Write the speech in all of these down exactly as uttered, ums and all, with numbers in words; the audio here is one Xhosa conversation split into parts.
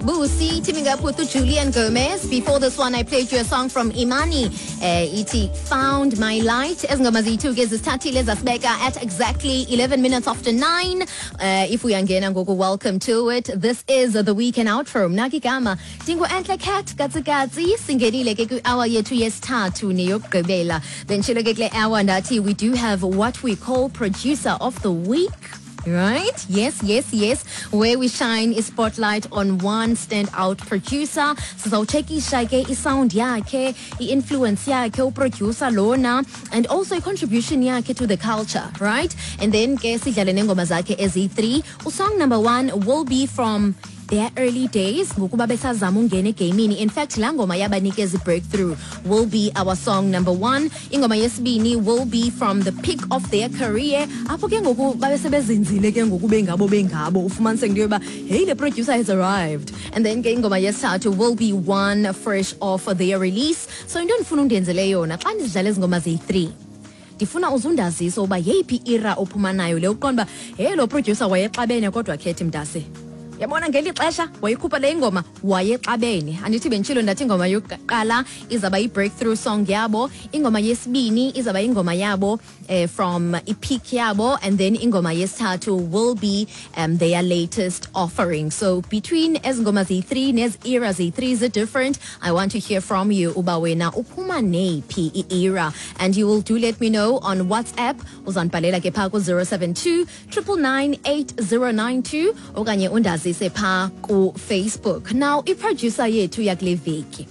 Busi teaming up with Julian Gomez. Before this one, I played you a song from Imani. Uh, ithi Found My Light. Ezi ngoma ziyi-two ke zisithathile zasibeka at exactly eleven minutes after nine. Uh, if uyangena ngoku, welcome to it. This is the Weekend Outro. Mna ke igama ndingu Entle Cat Katsikatsi. Singenile ke kwi-hour yethu yesithathu neyokugqibela. Benditshilo ke kule hour ndathi we do have what we call Producer of the Week. Right? Yes, yes, yes. Where we shine a spotlight on one standout producer. Sizawutshekisha ke isound yakhe, i-influence yakhe, uproducer lona, and also i-contribution yakhe to the culture, right? And then ke sidlale nengoma zakhe eziyi-three. Usong number one will be from their early days, ngokuba besazama ungena egamini. In fact, laa ngoma yabanikeza i-breakthrough will be our song number one. Ingoma yesibini will be from the peak of their career, apho ke ngoku babesebezinzile ke ngoku bengabo bengabo ufumaniseke into yoba, hey, the producer has arrived. And then ke ingoma yesithathu will be one fresh off their release. So into endifuna undenzele yona, xa ndizidlala ezi ngoma ziyi-three, ndifuna uzundazise uba yeyiphi era ophuma nayo le, uqonda uba, hey, lo producer wayexabene kodwa khethi mntase, yabona ngeli xesha wayikhupha le ingoma wayexabene. Andithi benditshilo ndathi ingoma yokuqala izawuba yi-breakthrough song yabo, ingoma yesibini izawuba ingoma yabo eh, from ipeak yabo, and then ingoma yesithathu will be um, their latest offering. So between ezi ngoma ziyi-three nezi era ziyi-three zi-different, I want to hear from you uba wena uphuma neyiphi i-era, and you will do let me know on WhatsApp. Uzandibhalela ke phaa ku-zero seven two nine nine nine eight zero nine two okanye undazise phaa ku-Facebook. Now, iproducer yethu yakule veki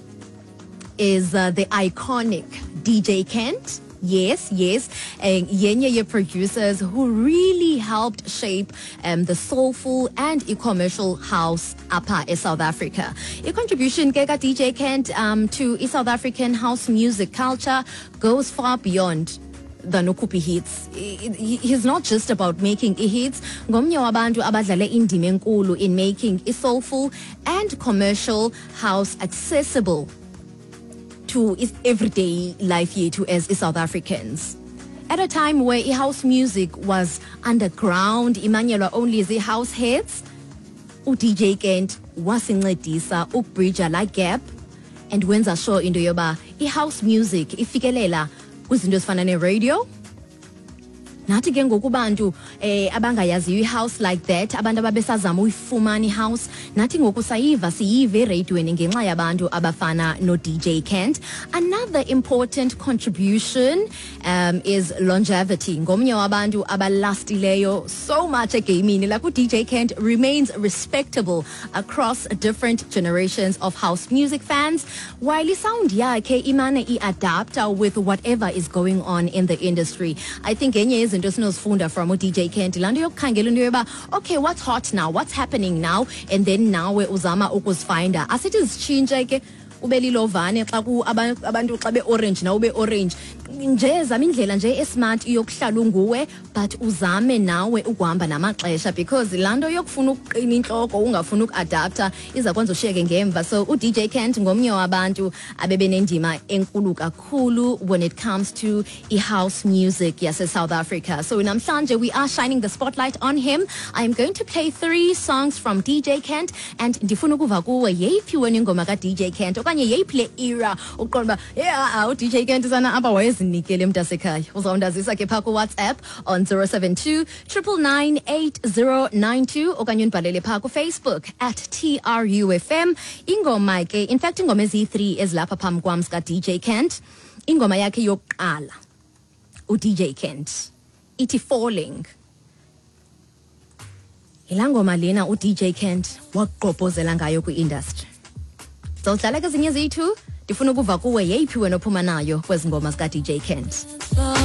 is uh, the iconic D J Kent. Yes, yes. Uh, yenye ye producers who really helped shape um, the soulful and commercial house apha eSouth Africa. A contribution ke ka D J Kent um, to South African house music culture goes far beyond than ukhupha hits. He's not just about making hits. Ngomnye wabantu abadlale indima enkulu in making soulful and commercial house accessible to everyday life yethu as South Africans. At a time where house music was underground, imanyelwa only zi-house heads, u-D J Kent wasincedisa ukubridge la gap and wenza sure into yoba i-house music ifikelela kwizinto ezifana ne-radio. Nathi ke ngoku bantu eh abangayaziyo i-house like that, abantu ababesazama uyifumana i-house, nathi ngoku sayiva, siyive eradiweni ngenxa yabantu abafana no-D J Kent. Another important contribution um, is longevity. Ngomnye wabantu abalastileyo so much egamini. Like, u-D J Kent remains respectable across different generations of house music fans, while isound yakhe imane i-adapta with whatever is going on in the industry. I think enye yezinto esinozifunda from u-D J Kent, laa nto yokukhangela into yoba, okay, what's hot now, what's happening now, and then nawe uzama ukuzifinda. Asithi zitshintshe ke, ube lilovane xa ku abantu xa be-orange, nawe ube-orange nje. Zama indlela nje esmart yokuhlala unguwe, but uzame nawe ukuhamba namaxesha, because laa nto yokufuna ukuqina intloko, ungafuni ukuadapta, iza kwenza ushiyeke ngemva. So u-D J Kent ngomnye wabantu abebenendima enkulu kakhulu when it comes to i-house music yase-South Africa. So namhlanje we are shining the spotlight on him. I am going to play three songs from D J Kent, and ndifuna ukuva kuwe, yeyiphi wena ingoma ka-D J Kent okanye yeyiphi le era uqonda uba, yeah, u-D J Kent sana apha wayezinikele mntasekhaya? Uzawundazisa ke phaa kuWhatsApp on zero seven two nine nine nine eight zero nine two okanye undibhalele phaa kuFacebook at T R U F M. Ingoma ke, in fact, ingoma eziyi-three ezilapha phambi kwam zika-D J Kent. Ingoma yakhe yokuqala u-D J Kent ithi Falling. Yilaa ngoma lena u-D J Kent wagqobhozela ngayo kwi-industry. Zawudlala ke ezinye eziyi-two. Ndifuna ukuva kuwe, yeyiphi wena ophuma nayo kwezi ngoma zika-D J Kent?